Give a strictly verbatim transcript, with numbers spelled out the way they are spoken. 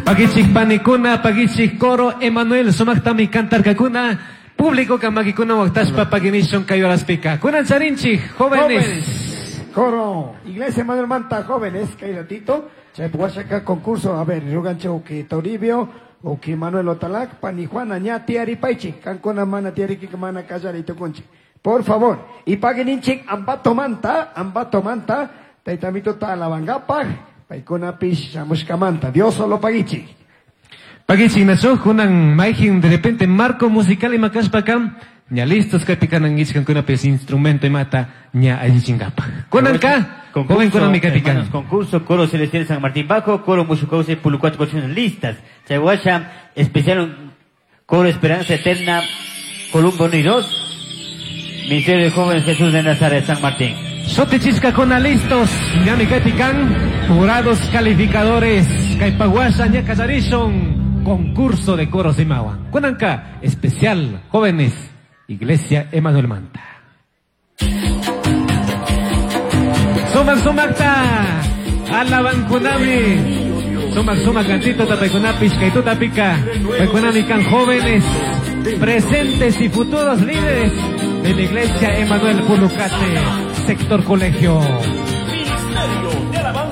Pagichik panikuna, pagichik coro Emanuel sumaktami cantarkakuna. Público kamakikuna waktashpa paginishon kayuraspika. Kunan charinchik, jóvenes. Jóvenes. Coro, Iglesia Emanuel Manta, jóvenes, kay ratito. Chay puwashaka concurso, a ver, ruganche uki Toribio, uki Manuel Otalac, pani Juana ña tiari paichi, kankuna mana tiari kika mana kallari tukunchi. Por favor, y pagininchik ambato manta, ambato manta, taitamito ta alabangapaj, paikuna pish shamushkamanta, Dios solo pagichi. Pagichik nacho, kunan maijin de repente marco musical y makashpakam, ña listos kaypikanankichik kankuna pis instrumento imata ña allichinkapaj. Kunan ka, joven kunan mi kaypikan. Hermanos, concurso, Coro Celestial San Martín Bajo, Coro Mushucauce, Pulucuatro, Cochino, listas. Chayhuasha, especial Coro Esperanza Eterna, Columbo uno y dos, Ministerio de Jóvenes Jesús de Nazaret, San Martín. Sotichisca con listos, ñami kaypikan, jurados calificadores, Kaypahuasha, ña kallarishun, concurso de coros de Mawa. Kunanka, especial, jóvenes, Iglesia Emanuel Manta. Sumak sumakta, alaban kunami. Sumak sumak cantito tapaykunapish, kaytuta pica. Paykunami kan jóvenes, presentes y futuros líderes de la Iglesia Emanuel Pulucate, sector colegio. Ministerio de Alabanza.